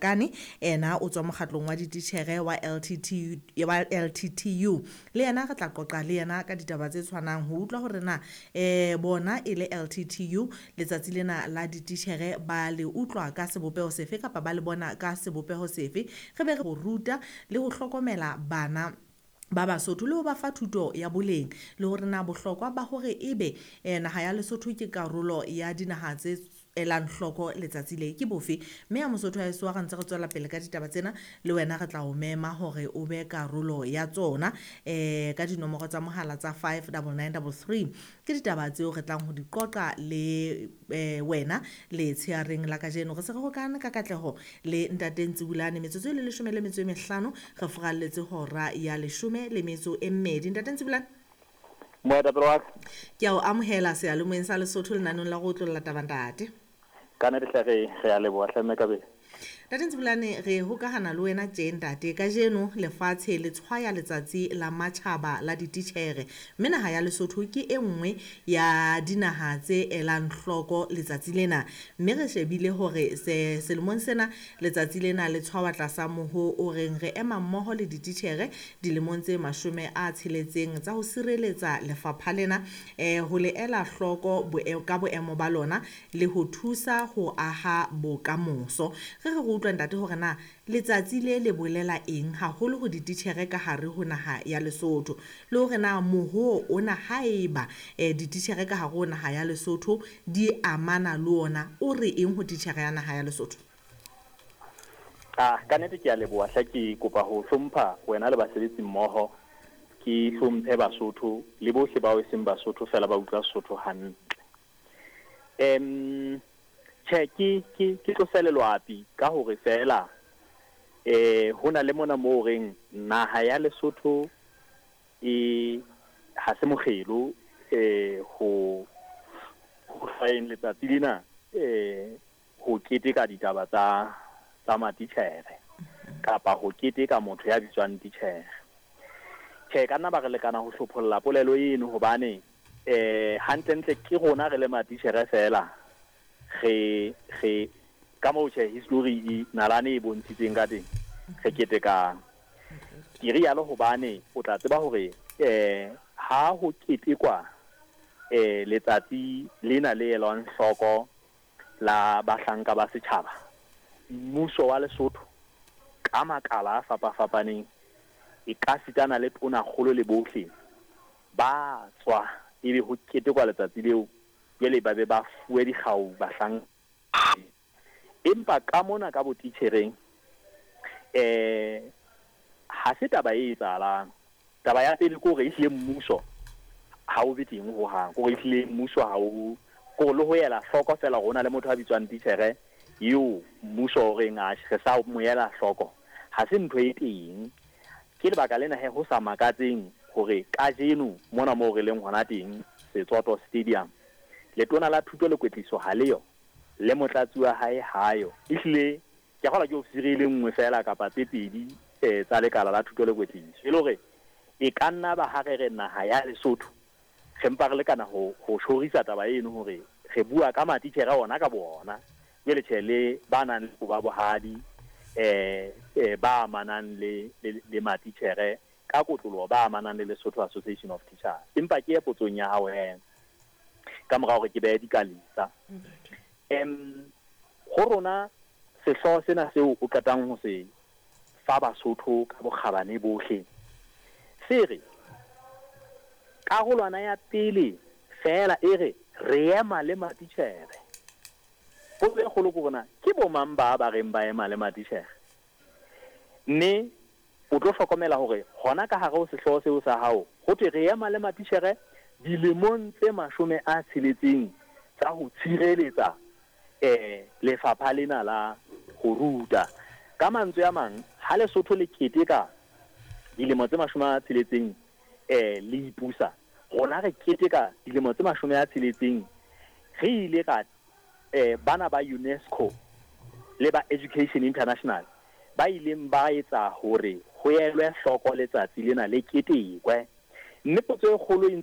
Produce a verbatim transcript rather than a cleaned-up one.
Kane ena o tswa mokgatlong wa dititjhere wa L T T U, wa L T T U. Le yena re tla qoqa le yena ka ditaba tse tshwanang ho utlwa hore na eh bona e le L T T U letsatsi lena la dititjhere ba le utlwa ka sebopeho sefe kapa ba le bona ka sebopeho sefe. Re be re ho ruta le ho hlokomela bana ba Basotho le ho ba fa thuto ya boleng le hore na bohlokwa ba hore ebe eh, naha ya Lesotho ke karolo ya dinaha tse elang hloko letsatsi le ke bofe. Mme ya Mosotho wa heso ha re ntse re tswela pele ka ditaba tsena le wena re tla o mema hore o be karolo ya tsona eh ka dinomoro tsa mohala tsa five double nine double three. Ke ditaba tseo re tlang ho di qoqa le eh, wena le tsheareng la kajeno. Re se re hokane ka katleho le ntate Ntsibulane metsotso e le leshome le metso e mehlano re furalletse hora ya leshome le metso e mmedi. Ntate Ntsibulane, moetapele wa ka, ke a o amohela seyalemoyeng sa Lesotho lenaneng la go otlolla taba ntate. Ka nnete hle re, re a leboha hle mme ka bele. Ntate Ntsibulane, re hokahana le wena tje ntate. Kajeno lefatshe le tshwaya letsatsi la matjhaba la dititjhere, mme naha ya Lesotho ke e nngwe ya dinaha tse elang hloko letsatsi lena. Mme re shebile hore se, selemong sena letsatsi lena le tshwawa tlasa moho o reng re ema mmoho le dititjhere dilemong tse mashome a tsheletseng tsa ho sireletsa lefapha lena, eh, ho le ela hloko boe-, ka boemo ba lona le ho thusa ho aha bokamoso. Re re re utlwa ntate hore na letsatsi le le bolela eng haholo ho dititjhere ka hare ho naha ya Lesotho, le hore na moho ona haeba, eh, dititjhere ka hare ho naha ya Lesotho di amana le ona, o re eng ho titjhere ya naha ya Lesotho? Ah, ka nnete ke a leboha hle, ke kopa ho hlompha wena le basebetsi mmoho, ke hlomphe Basotho le bohle bao e seng Basotho fela ba utlwa Sesotho hantle. Em, tjhe, ke, ke, ke tlose lelwapi ka hore fela, eh, ho na le mona moo reng naha ya Lesotho e ha se mokgelo, eh, ho, ho hlwayeng letsatsi lena, eh, ho keteka ditaba tsa, tsa matitjhere kapa ho keteka motho ya bitswang titjhere. Tjhe, ka nna ba re lekana ho hlopholla polelo eno hobane, eh, hantlentle ke rona re le matitjhere fela re, re ka moo tjhe history e nalane e bontshitseng ka teng re ketekang. Ke rialo hobane o tla tseba hore, eh, ha ho ketekwa, eh, letsatsi lena le elwang hloko la bahlanka ba setjhaba, mmuso wa Lesotho ka makala a fapafapaneng e ka sitana le tonakgolo le bohle ba tswa ebe ho ketekwa letsatsi leo, jwale ba be ba fuwe dikgau bahlanka. Empa ka mona ka botitjhereng, eh, ha se taba e etsahalang. Taba ya pele ke hore ehlile mmuso ha o be teng hohang, ke hore ehlile mmuso ha o, ke hore le ho ela hloko fela hore ho na le motho a bitswang titjhere eo mmuso o reng atjhe re sa mo ela hloko, ha se ntho e teng. Ke lebaka lena he ho sa makatseng hore kajeno mona moo re leng hona teng Setsoto Stadium, letona la thuto le kwetliso ha leyo, le motlatsi wa hae ha yo. Ehlile ke a kgolwa ke ofisiri e le nngwe fela kapa tse pedi, eh, tsa lekala la thuto le kwetliso. E le hore e ka nna ba ha re re naha ya Lesotho re mpa re lekana ho, ho tjhorisa taba eno hore re bua ka matitjhere ona ka bona, jwale tjhe le ba nang le ba bohadi, eh, eh, ba amanang le, le, le matitjhere ka kotloloho, ba amanang le Lesotho Association of Teachers. Empa ke ye potsong ya hao he, ka mora hore ke behe dikalisa. Em, ho rona sehlooho sena seo o qetang ho se fa Basotho ka bokgabane bohle, se re karolwana ya pele fela e re re ema le matitjhere. Potso e kgolo ke hore na ke bo mang ba ba reng ba ema le matitjhere? Mme o tlo hlokomela hore hona ka hare ho sehlooho seo sa hao ho thwe re ema le matitjhere dilemong tse mashome a tsheletseng tsa ho tshireletsa, eh, lefapha lena la ho ruta. Ka mantswe a mang, ha Lesotho le keteka dilemo tse mashome a tsheletseng, eh, le ipusa, rona re keteka dilemo tse mashome a tsheletseng re ile ra, eh, bana ba UNESCO le ba Education International ba ileng ba etsa hore ho elwe hloko letsatsi lena le ketekwe. Mme potso e kgolo e ntse